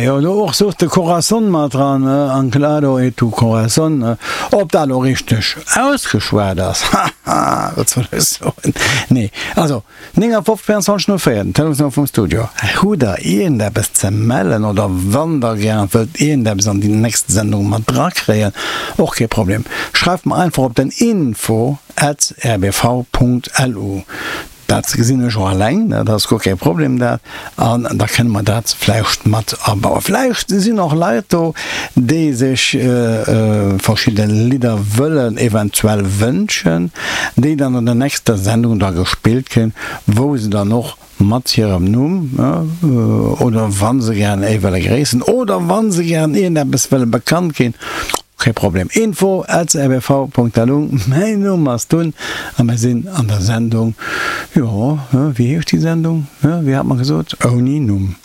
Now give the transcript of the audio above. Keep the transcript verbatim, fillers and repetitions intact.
Jo, do och sot de Corazón mat dran, Anclado e tu corazón. Ob dat elo richteg ausgeschwat ass, haha, wat soll ech soen? Nee, also néngafofzeg véierundzwanzeg null véier, den Telefonsnummer vum Studio. Hutt der iergendeppes ze mellen oder wann der gären wëllt iergendeppes an déi nächst Sendung mat drakréien, och kee Problem, schreift mer einfach op den info at rbv punkt lu. Dat gesinn ech och eleng, dat ass guer kee Problem dat, an da kënne mer dat vläicht mat abauen. Vläicht sinn och Leit do, déi sech verschidde Lidder wëllen eventuell wënschen, déi dann an der nächster Sendung da gespillt kréien, wou se dann och mat hirem Numm, oder wa se gären ee wëlle gréissen oder wa se gären iergendeppes wëlle bekannt ginn, Kee Problem. Info at rbv Punkt lu. Mäin Numm ass Tun a mir sinn an der Sendung, jo, wéi heescht déi Sendung, wéi hat mer gesot, Ouni Numm.